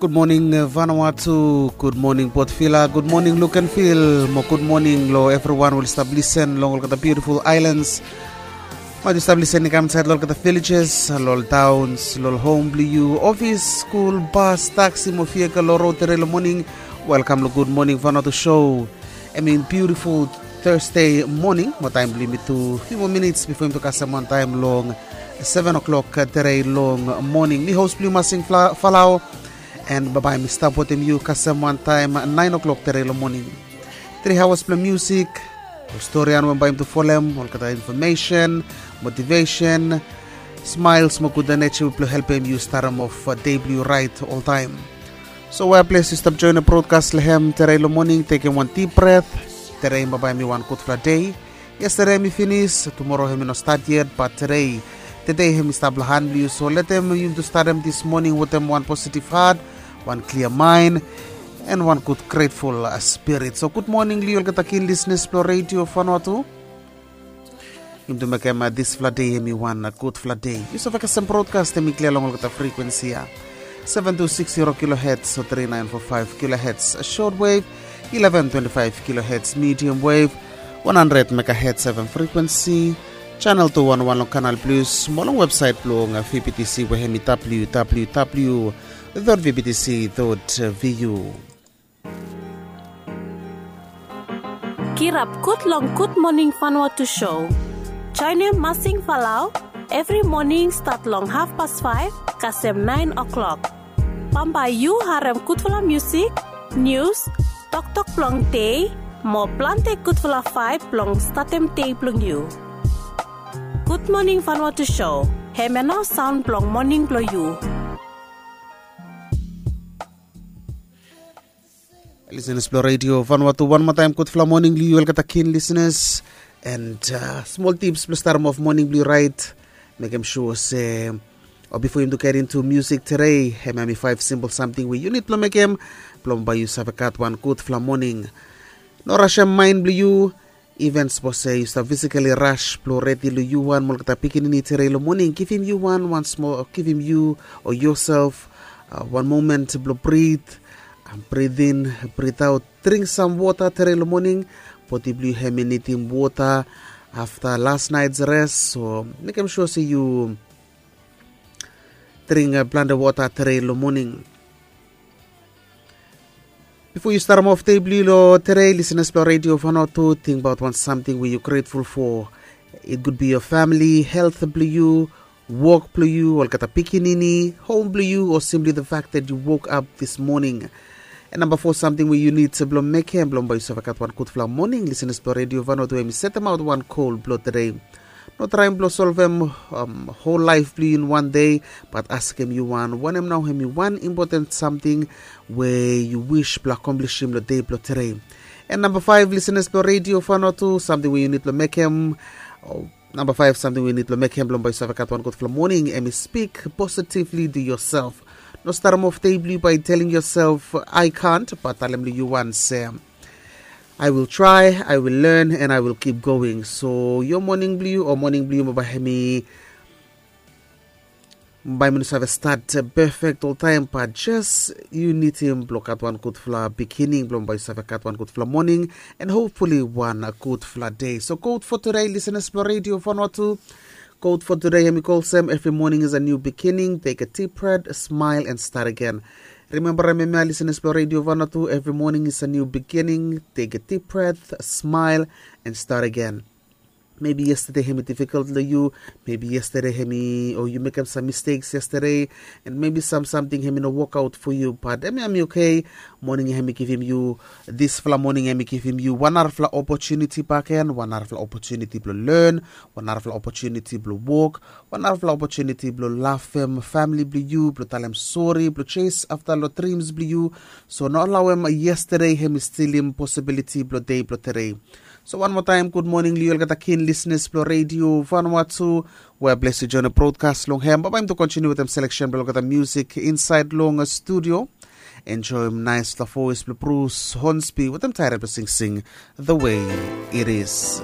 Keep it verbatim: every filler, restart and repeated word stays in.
Gud moning Vanuatu, gud moning Port Vila, gud moning Lukenvil, mo gud moning long evriwan we oli stap lisen long olgeta biutiful ailans. Maet yu stap lisen i kam insaed long olgeta villages, long ol towns, long ol hom blong yu, ofis, skul, bas, taksi mo vehikel long rod tere long moning. Welkam long Gud Moning Vanuatu show. Em in biutiful Thursday moning mo taem blong yumi tu fiu moa minits bifo yumi tu kasem wantaem long seven o'clock tere long moning. Mi hos blong yu Masing Fla- Falao. And babae mi stap wetem yu kasem wantaem nine o'clock tere long moning. Tri hawas blong musik, ol storian we bae yumi tu folem, olgeta infomesen, motivesen, smaels mo gud eneji blong helpem yu starem of dei blong yu raet oltaem. So we ples yu stap joenem brodkas long hem tere long moning, tekem wan dip bret. Tere babae mi wan gudfala dei. Yestede hem i finis, tumoro hem i no stat yet, bat tede, tede hem i stap long han blong yu. So letem yumi tu statem dis moning wetem wan positiv hat, wan klia maen, and wan gud gretful spirit. So gud moning long yu olgeta kin lisnis blong redio Vanuatu. Yumi tu mekem disfala dei hem i wan gudfala dei. Yu save kasem brodkas hem i klia long olgeta frekuensi ya. Seven two six zero kilohertz o three nine four five kilohertz short wave, eleven twenty-five kilohertz medium wave, one hundred megahertz F M frequency, channel two one one long Canal Plus, mo long website blong V B T C we hem i W W W dot V B T C dot V U. Kirap gud long Gud Moning Vanuatu show. Joenem Masing Falau evri moning stat long hafpas faef kasem naen o'klok. Bambae yu harem gudfala musik, nius, toktok blong dei, mo plante gudfala vaeb blong statem dei blong yu. Gud Moning Vanuatu show, hemia nao saon blong moning blong yu. Lisenas blong redio Vanuatu, wan moa taem gudfala moning long yu olgeta kin lisenas. And smol tips blong statem of moning blong yu raet. Mekem sua se, o bifo yumi tu get into musik tede, hemia hem i faef simpol samting we yu nid blong mekem blong bae yu save gat wan gudfala moning. No rasem maen blong yu. Iven sapos se yu stap fisikali ras blong redi long yu wan mo olgeta pikinini tede long moning, givim yu wan wan smol, givim yu o yosef wan momen blong brit, brit in, brit aot. Dring sam wota tede long moning. Bodi blong yu hem i nidim wota afta las naet res. So mekem sua se yu dring plante wota tede long moning. Bifo yu statem of dei blong yu long tede, lisenas blong redio Vanuatu, tingbaot wan samting we yu gretful fo. It could be your family, helt blong yu, wok blong yu, olgeta pikinini, hom blong yu, o simply the fact that you woke up this morning. And namba fo samting we yu nid blong mekem blong bae yu save gat wan gudfala moning, lisenas blong redio Vanuatu, hem i setemaot wan gol blong tede. No traem blong solvem hol laef blong yu in wan dei, bat askem yu wan, wanem nao hem i wan impoten samting we yu wis blong akomplisim long dei blong tede. And namba faef, lisenas blong redio Vanuatu, samting we yu nid blong mekem, o namba faef, samting we yu nid blong mekem blong bae yu save gat wan gudfala moning, hem i spik positively to yourself. No statem of dei blong yu bae telem yourself I can't, bat talem long yu wan se, I will try, I will learn, and I will keep going. So yo moning blong yu o moning blong yu mo bae hem i bae mi no save stat pefek oltaem, bat jes yu nidim blong gat wan gudfala bigining blong bae yu save gat wan gudfala moning, and hopefully wan gudfala dei. So kot fo tede, lisenas blong redio Vanuatu, kot fo tede hem i go olsem, every morning is a new beginning, take a deep breath, smile and start again. Rimembarem hemia, lisenas blong redio Vanuatu, every morning is a new beginning, take a deep breath, smile and start again. Mebi yestede hem i difikol long yu, mebi yestede hem i, o yu mekem sam misteks yestede, and mebi sam samting hem i no wokaot fo yu, bat hemia hem i oke. Moning ya hem i givim yu, disfala moning hem i givim yu wan narafala opotuniti bakegen, wan narafala opotuniti blong len, wan narafala opotuniti blong wok, wan narafala opotuniti blong lafem famili blong yu, blong talem sori, blong jes afta long drims blong yu. So no alaoem yestede hem i stilim posibiliti blong dei blong tede. So wan moa taem, gud moning long yu olgeta kin lisenas blong redio Vanuatu, we ples yu joenem brodkas long hem. Babae yumi tu kontiniu wetem seleksen blong olgeta musik insaed long studio. Enjoem naesfala voes blong Bruce Hornsby wetem taet blong singsing The Way It Is.